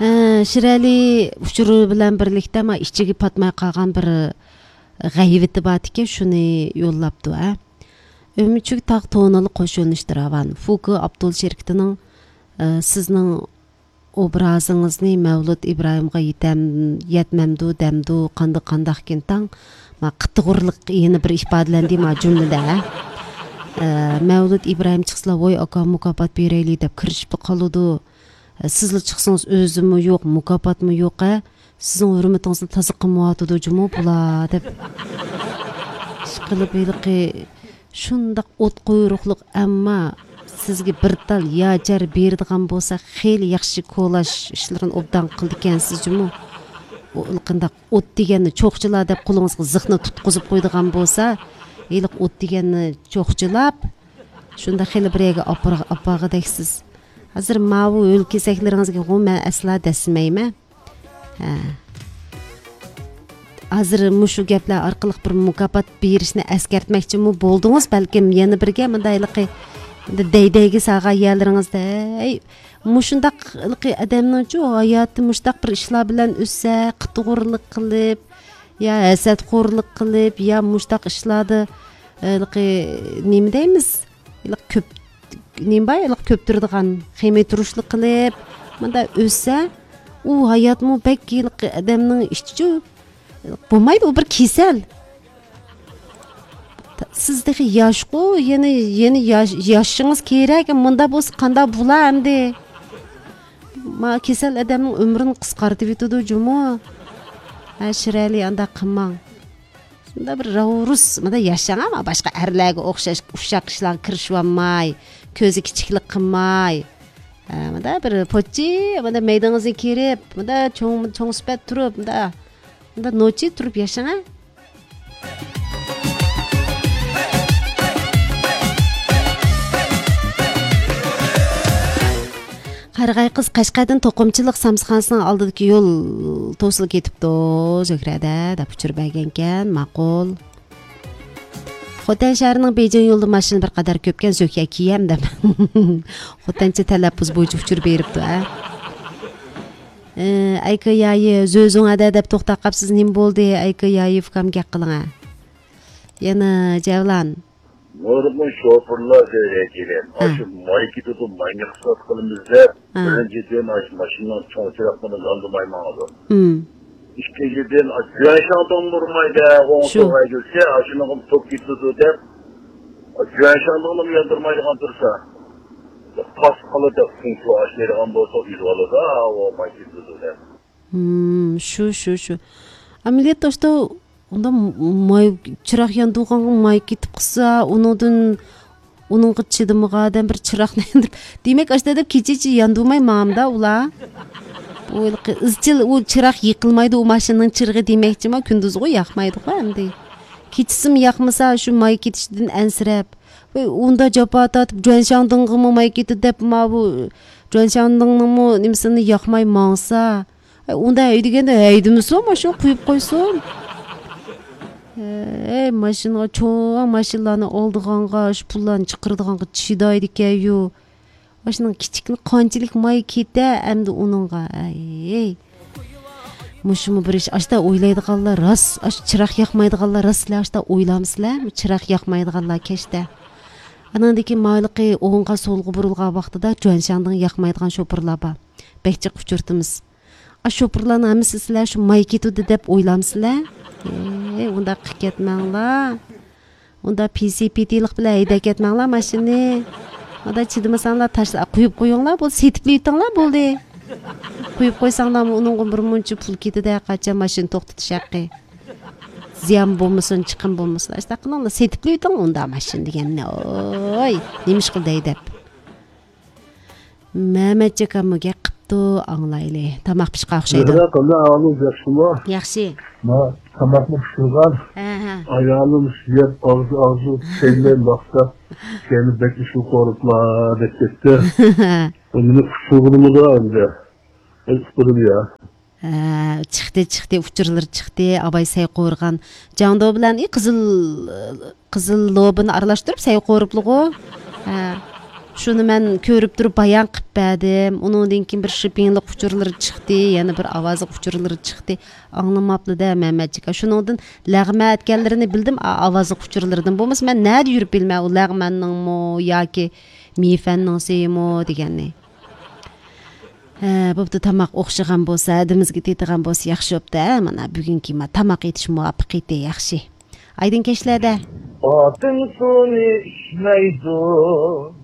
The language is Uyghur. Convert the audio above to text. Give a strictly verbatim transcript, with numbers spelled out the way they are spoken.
ئە، شىرئەلى ئۇچۇرى بىلەن بىرلىكتە، ما، ئىچىگە پاتماي قالغان بىر غەيۋىتى بارتىكەن، شۇنى يوللاپتۇ، ھە. ئۈمىچۈك تاغ تونىلى قوشۇلۇشتى راۋان. فۇكى ئاپتول شىركىتىنىڭ، ئە، سىزنىڭ ئوبرازىڭىزنى مەۋلۇت ئىبراھىمغا يېتەم-، يەتمەمدۇ دەمدۇ، قانداق قانداقكىن تاڭ، ما، قىتىغۇرلۇق يەنە بىر ئىپادىلەندى ما جۈملىدە، ھە. ئە، مەۋلۇت ئىبراھىم چىقسىلا، ۋوي ئاكا، مۇكاپات بېرەيلى دەپ كىرىشىپلا قالىدۇ. سىزلا چىقسىڭىز ئۆزىمۇ يوق، مۇكاپاتمۇ يوق، ھە؟ سىزنىڭ ھۆرمىتىڭىزنى تازا قىلمايۋاتىدۇ جۇمۇ بۇلار دەپ. ئىشقىلىپ ھېلىقى شۇنداق ئوت قۇيرۇقلۇق، ئەمما سىزگە بىر تال ياجار بېرىدىغان بولسا، خېلى ياخشى كولاژ ئىشلىرىنى ئوبدان قىلىدىكەنسىز جۇمۇ. ئۇ قانداق ئوت دېگەننى چوقچىلا دەپ قولىڭىزغا زىخنى تۇتقۇزۇپ قويىدىغان بولسا، ھېلىقى ئوت دېگەننى چوقچىلاپ، شۇنداق خېلى بىر يەرگە ئاپار-، ئاپارغۇدەكسىز. ھازىر ماۋۇ ھۆل كېسەكلىرىڭىزگىغۇ مەن ئەسلا دەسسىمەيمەن. ھە. ھازىر مۇشۇ گەپلەر ئارقىلىق بىر مۇكاپات بېرىشنى ئەسكەرتمەكچىمۇ بولدىڭىز، بەلكىم يەنە بىرگە مۇنداق ھېلىقى دەي-دەيگە سالغان يەرلىرىڭىزدە، ھەي، مۇشۇنداق ھېلىقى ئادەمنىڭچۇ ھاياتى مۇشۇنداق بىر ئىشلار بىلەن ئۆتسە، قىتىغۇرلۇق قىلىپ، يا ھەسەتخورلۇق قىلىپ، يا مۇشۇنداق ئىشلاردا، ھېلىقى، نېمە دەيمىز؟ ھېلىقى كۆپ، نېمە بار؟ ھېلىقى كۆپتۈرىدىغان خېمىتۇرۇشلۇق قىلىپ، مۇنداق ئۆتسە، ئۇ ھاياتمۇ بەك ھېلىقى ئادەمنىڭ ئىچىچۇ بولمايدۇ، ئۇ بىر كېسەل. سىز تېخى ياشقۇ، يەنە، يەنە ياش-، ياشىشىڭىز كېرەك. مۇنداق بولسا قانداق بولا ئەمدى؟ ما كېسەل ئادەمنىڭ ئۆمرىنى قىسقارتىۋېتىدۇ جۇمۇ. ھە، شىرئەلى، ئانداق قىلماڭ. شۇنداق بىر راۋرۇس، مۇنداق ياشاڭ، ئەمما باشقا ئەرلەرگە ئوخشاش ئۇششاق ئىشلارغا كىرىشىۋالماي، كۆزى كىچىكلىك قىلماي. ھە، مۇنداق بىر پوچى، مۇنداق مەيدىڭىزنى كىرىپ، مۇنداق چوڭ، چوڭ سۈپەت تۇرۇپ، مۇنداق، مۇنداق نوچى تۇرۇپ ياشاڭ، ھە. قارىغاي قىز قەشقەردىن توقۇمىچىلىق سامانخانىسىنىڭ ئالدىدىكى يول توسۇلۇپ كېتىپتۇ، زۆھرەدە دەپ ئۇچۇر بەرگەنكەن. ماقۇل. خوتەن شەھىرىنىڭ بېيجىڭ يولىدا ماشىنا بىر قەدەر كۆپكەن، زۆھرە كىيەم دەپ. خوتەنچە تەلەپپۇز بويىچە ئۇچۇر بېرىپتۇ، ھە. ئەي، ئەيكا يايى، زۆزۈڭ ئەدە دەپ توختاپ قاپسىز، نېمە بولدى؟ ئەيكا يايى، ئۇكام گەپ قىلىڭە. يەنە جەۋلان. نۇرغۇن شوپۇرلار زۆھرە ئەكېلىپ، ھە، ئاشۇ ماي كېتىدۇ، ماينى خىسلات قىلىمىز دەپ، ھە، بىرىنچىدىن، ئاشۇ ماشىنىنىڭ چوڭ چىراغلىرىنى ياندۇرماي ماڭىدۇ. مم. ئىككىنچىدىن، ئاشۇ جۈەنشاڭدىڭ ئۇرمايدۇ، ئوڭ شۇ سول ھەيدىسە، ئاشۇنىڭغا توك كېتىدۇ دەپ، جۈەنشاڭدىڭلىمۇ ياندۇرمايدىغان تۇرسا، پاس قىلىدۇ، پۇڭچۇ ئاشلىيدىغان بولسا، ئۇيۇلۇۋالىدۇ، ئاۋۇ ماي كېتىدۇ دەپ. ھىم، شۇ، شۇ، شۇ. ئەمەلىيەتتە ئاشتا ئۇنداق ماي، چىراغ ياندۇرغانغا ماي كېتىپ قالسا، ئۇنىڭدىن، ئۇنىڭغا چىدىمىغان ئادەم بىر چىراغنى ياندۇرۇپ، دېمەك، ئاشتا دەپ كېچىچە ياندۇرماي ماڭامدا ئۇلار. بۇ ھېلىقى ئىزچىل ئۇ چىراغ يېقىلمايدۇ، ئۇ ماشىنىنىڭ چىرىغى دېمەكچىما، كۈندۈزغۇ ياقمايدىغۇ ئەمدى. كېچىسىمۇ ياقمىسا، شۇ ماي كېتىشىدىن ئەنسىرەپ، ۋەي، ئۇندا جاپا تارتىپ، جۈەنشاڭدىڭغىمۇ ماي كېتىدۇ دەپ، ماۋۇ جۈەنشاڭدىڭنىڭمۇ نېمىسىنى ياقماي ماڭسا، ئۇندا ھەيدىگەندە ھەيدىمىسۇن، ماشىنا قويۇپ قويسۇن. ھەي، ماشىنىغا، چوڭ ماشىنىلارنى ئالىدىغانغا، شۇ پۇللارنى چىقىرىدىغانغا چىدايدىكەن-يۇ. ماشىنىنىڭ كىچىكىنى قانچىلىك ماي كېتە ئەمدى ئۇنىڭغا. ھەي. مۇشۇمۇ بىر ئىش. ئاشتا ئويلايدىغانلار راست، ئاشۇ چىراغ ياقمايدىغانلار راستلا ئاشتا ئويلامسىلەر؟ چىراغ ياقمايدىغانلار كەچتە. ئاناندىكى مايلىقى ئوڭغا سولغا بۇرۇلغان ۋاقتىدا جۈەنشاڭدىڭ ياقمايدىغان شوپۇرلار بار. بەك جىق ئۇچرىتىمىز. ئاشۇ شوپۇرلارنىڭ ھەممىسى سىلەر شۇ ماي كېتىدۇ دەپ ئويلامسىلەر؟ ئەي، ئۇنداق قىلىپ كەتمەڭلار. ئۇنداق پىسى پىتىلىق بىلەن ھەيدەپ كەتمەڭلار ماشىنىنى. ئۇنداق چىدىمىساڭلار تاشلا-، قويۇپ قويۇڭلار، بولدى، سېتىپلا ئېتىڭلار، بولدى. قويۇپ قويساڭلارمۇ ئۇنىڭغا بىر مۇنچە پۇل كېتىدۇ، قاچان ماشىنا توختىتىش ھەققى. زىيان بولمىسۇن، چىقىم بولمىسۇن. ئاشۇنداق قىلىڭلار، سېتىپلا ئېتىڭ ئۇنداق ماشىنا دېگەننى. ئوي، نېمە ئىش قىلدى ھەيدەپ؟ مەمەتجېكەممۇ گەپ قىپتۇ، ئاڭلايلى. تاماق پىشقان ئوخشايدۇ. زۆھرە، قانداق ئەھۋالىڭىز، ياخشىمۇ؟ ياخشى. ما، تاماقمۇ پىشۇرغان. ھە، ھە. ئايالىم يەپ ئاغزى، ئاغزى پەيلەي باقسا، كەينى بەك ئىشقىلىپ قورۇپلا دەپ كەتتى. بۇ مېنى قۇتۇلغىنىمىدا ئەمدى. ئەي، ئۇقتۇردۇم يا. ھە، چىقتى، چىقتى، ئۇچۇرلىرى چىقتى. ئاباي سەي قورۇغان. جاڭدۇ بىلەن، ئى، قىزىل، قىزىل لوبىنى ئارىلاشتۇرۇپ سەي قورۇپلىغۇ. ھە. شۇنى مەن كۆرۈپ تۇرۇپ بايان قىلىپ بەردىم. ئۇنىڭدىن كېيىن بىر شىپىڭلىق ئۇچۇرلىرى چىقتى، يەنە بىر ئاۋازلىق ئۇچۇرلىرى چىقتى. ئاڭلىماپلا-دە، مەمەتجىك. شۇنىڭدىن لەغمەن ئەتكەنلىرىنى بىلدىم، ئا-، ئاۋازلىق ئۇچۇرلىرىدىن. بولمىسا مەن نەدە يۈرۈپ بىلىمەن، ئۇ لەغمەننىڭمۇ ياكى مېيىفەننىڭسىمۇ دېگەننى. ھە، بوپتۇ، تاماق ئوخشىغان بولسا، ھەدىمىزگە تېتىغان بولسا ياخشى بوپتۇ، ھە؟ مانا بۈگۈنكى ما-، تاماق ئېتىش مۇۋەپپەقىيىتى ياخشى. ئايدىڭ كەچلەردە. ئاتىم سۇنى ئىچمەيدۇ.